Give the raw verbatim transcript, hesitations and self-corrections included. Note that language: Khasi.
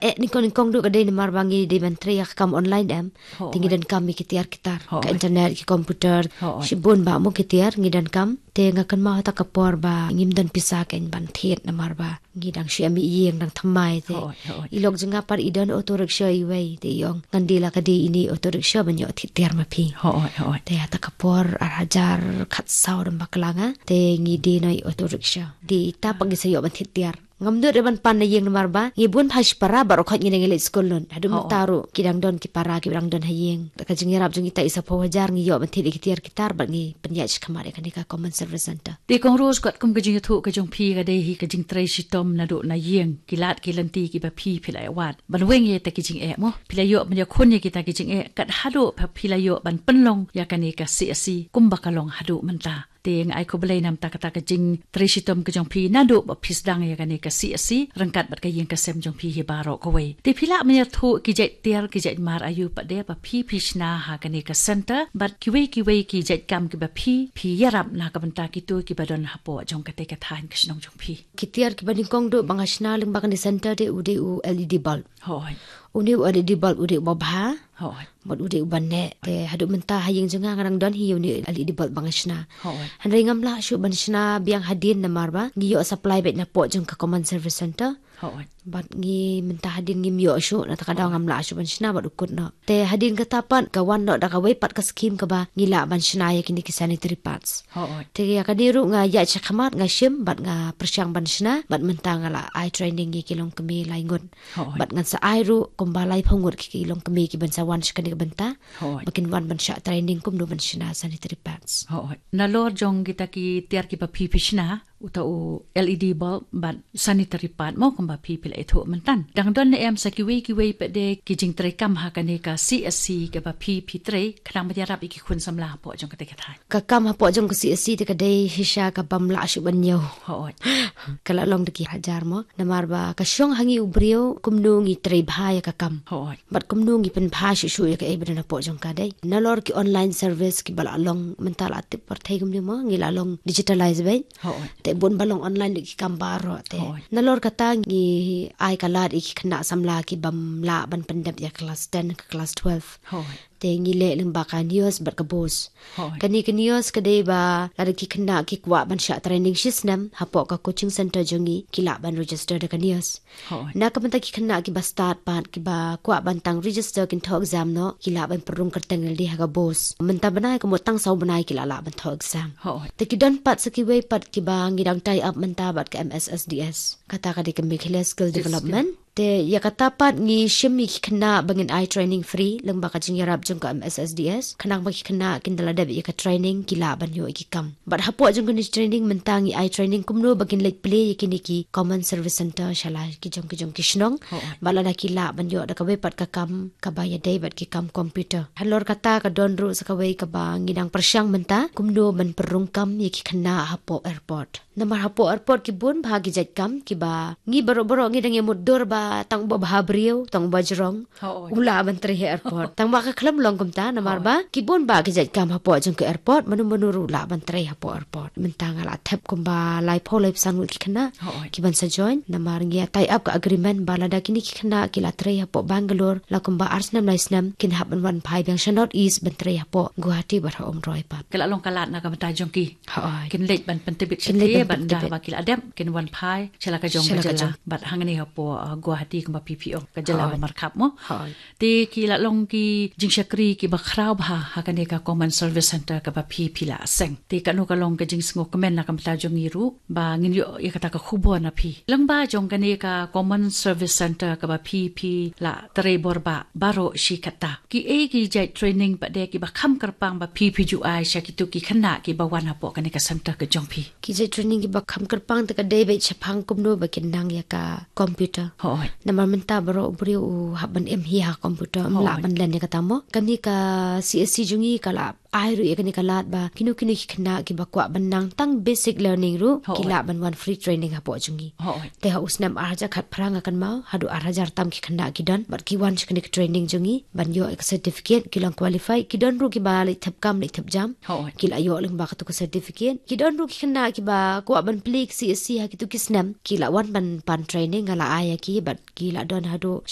Eh, nyngkong nyngkong duh ka dei namar ba ngi dei ban trei ïa ka kam online em. Te ngi donkam ïa ki tiar ki tar. Ka internet, ki computer. Shibun bah mo ki tiar ngi donkam. Te nga kynmaw ha kata ka por ba ngim don pisa kein ban thied namar ba ngi dang shu ïa mih ïing dang thymmai te. I lok jong nga pat i don auto rickshaw iwei te i ong ngan die la ka die ine auto rickshaw ban ïoh thied tiar ma phi. Te ha kata ka por ar hajar khatsaw dang bakla nga te ngi die noh i auto rickshaw. Die ita pat ngi sa ïoh ban thied tiar. Ngam nud re ban pan na ïing namar ba ngi bun bha shi para baroh khoit ngi dang ïaleit skul lut. Haduh mynta ruh ki dang don ki para ki dang don ha ïing. Da ka jingïarap jong ita i saphew hajar ngi ïoh ban thied ïa ki tiar ki tar bad ngi pynïaid shakhmat ïa kane ka Common Service Centre. Te Kong Rose, katkum ka jingïathuh ka jong phi ka dei hi ka jingtrei shitom naduh na ïing, ki lad ki lynti kiba phi phi la ïa wad. Ban weng ïa kita ki jingeh mo, phi la ïoh ban ïakhun ïa kita ki jingeh, kat haduh phi la ïoh ban pynlong ïa kane ka C S C kumba ka long haduh mynta. Te nga ai khublei namar kata ka jingtrei shitom ka jong phi naduh ba phi sdang ïa kane ka C S C ryngkat bad ka ïing ka sem jong phi hi baroh kawei. Te phi lah ban ïathuh ki jait tiar ki jait mar aïu pat de ba phi phi shna ha kane ka centre bad kiwei kiwei ki jait kam kiba phi phi ïarap na ka bynta kito kiba don hapoh jong kata ka thaiñ ka shnong jong phi. Ki tiar kiba nyngkong duh ba nga shna lyngba kane centre de u dei u L E D bulb. Une u L E D bulb u dei uba bha. Bad u dei uba neh. Te haduh mynta ha ïing jong nga nga dang don hi une u L E D bulb ba nga shna. Hynrei ngam lah shuh ban shna biang hadien namar ba ngi ïoh supply beit napoh jong ka Common Service Centre. Bad ngi mynta hadien ngim ïoh shuh na kata ka daw ngam lah shuh ban shna bad u kut noh. Te hadien kata pat ka wan noh da kawei pat ka scheme kaba ngi lah ban shna ïa kine ki sanitary pads. Te ïa kane ruh nga ïaid shakhmat nga shim bad nga pyrshang ban shna bad mynta nga la ai training ïa ki longkmie lai ngut. Bad ngan sa ai ruh kumba laiphew ngut ki longkmie kiban sa wan sha kane ka bynta. Ba kin wan ban shah training kumno ban shna sanitary pads. Nalor jong kita ki tiar kiba phi phi shna, uta u L E D bulb bad sanitary pad mo kumba phi phi la ïathuh mynta. Dang don ne em sa kiwei kiwei pat de ki jingtrei kam ha kane ka C S C kaba phi phi trei khnang ban ïarap ïa ki khun samla hapoh jong kata ka thaiñ? Ka kam hapoh jong ka C S C te ka dei shisha kabym lah shuh ban ñiew. Ka la long da ki hajar mo. Namar ba ka shong ha ngi u briew kumno ngi trei bha ïa ka kam. Bad kumno ngi pynbha shuh shuh ïa kaei ba don hapoh jong ka dei. Nalor ki online service kiba la long mynta la tip pyrthei kumne mo ngi la long digitalize beit. Te bun ba long online lut ki kam baroh te. Nalor kata ngi ai ka lad ïa ki khynnah samla kibym lah ban pyndep ïa ka class ten ka class twelve. Te ngi leh lyngba ka NEOS bad ka BOSE. Kane ka NEOS ka dei ba lada ki khynnah ki kwah ban shah training shisnem hapoh ka coaching centre jong ngi ki lah ban register da ka NEOS. Na ka bynta ki khynnah kiba stad pat kiba kwah ban tang register kin thoh exam noh ki lah ban pynrung kyrteng lade ha ka BOSE. Mynta bnai ka mut tang saw bnai ki la lah ban thoh exam. Te ki don pat sa kiwei pat kiba ngi dang tie up mynta bad ka M S S D S. Kata ka dei ka Meghalaya Skill Development. Te ïa kata pat ngi shim ïa ki khynnah ba ngin ai training free lyngba ka jingïarap jong ka M S S D S. Khnang ba ki khynnah kin da la dep ïa ka training ki lah ban ïoh ïa ki kam. Bad hapoh jong kane training mynta ngi ai training kumno ba kin leit plie ïa kine ki Common Service Centre sha la ki jong ki jong ki shnong. Bad lada ki lah ban ïoh da kawei pat ka kam kaba ïadei bad ki kam computer. Halor kata ka don ruh sa kawei kaba ngi dang pyrshang mynta kumno ban pynrung kam ïa ki khynnah hapoh airport. Namar hapoh airport ki bun bha ki jait kam kiba ngi baroh baroh ngi dang ïa mutdur ba tang uba bha briew tang uba jrong u lah ban trei ha airport. Tang ba ka khlem long kumta namar ba ki bun bha ki jait kam hapoh jong ka airport manu manu ruh lah ban trei hapoh airport. Mynta nga la thep kumba laiphew laiphew san ngut ki khynnah kiban sa join namar ngi ïa tie up ka agreement ba lada kine ki khynnah ki la trei hapoh Bangalore la kumba ar snem lai snem kin hap ban wan phai biang sha North East ban trei hapoh Guwahati bad ha Umroi pat. Ka la long ka lad na ka bynta jong ki. Kin leit ban pyntbit shatei ban da ba ki la dep kin wan phai sha la ka jong ka jylla bad hangne hapoh Guwahati kumba phi phi ong ka jylla ba markhap mo. Te ki la long ki jingshakri kiba khraw bha ha kane ka Common Service Centre kaba phi phi la seng. Te kano ka long ka jingsngewkmen na ka bynta jong ngi ruh ba ngin ïoh ïa kata ka khubor na phi. Lyngba jong kane ka Common Service Centre kaba phi phi la trei bor ba baroh shi katta. Kiei ki jait training pat de kiba kham kyrpang ba phi phi ju ai sha kito ki khynnah kiba wan hapoh kane ka centre ka jong phi? Ki jait training kiba kham kyrpang te ka dei beit shaphang kumno ba kin nang ïa ka computer. Namar mynta baroh u briew u hap ban im hi ha computer, um lah ban len ïa kata mo. Kane ka C S C jong ngi ka la ai ruh ïa kane ka lad ba kino kino ki khynnah kiba kwah ban nang tang basic learning ruh ki lah ban wan free training hapoh jong ngi. Te ha u snem ar hajar khatphra nga kynmaw haduh ar hajar tam ki khynnah ki don bad ki wan sha kane ka training jong ngi ban ïoh ïa ka certificate, ki long qualified, ki don ruh kiba leit thep kam leit thep jam. Ki la ïoh lyngba katu ka certificate. Ki don ruh ki khynnah kiba kwah ban plie ka C S C ha kitu ki snem, ki la wan ban pan training, nga la ai ïa ki bad ki la don haduh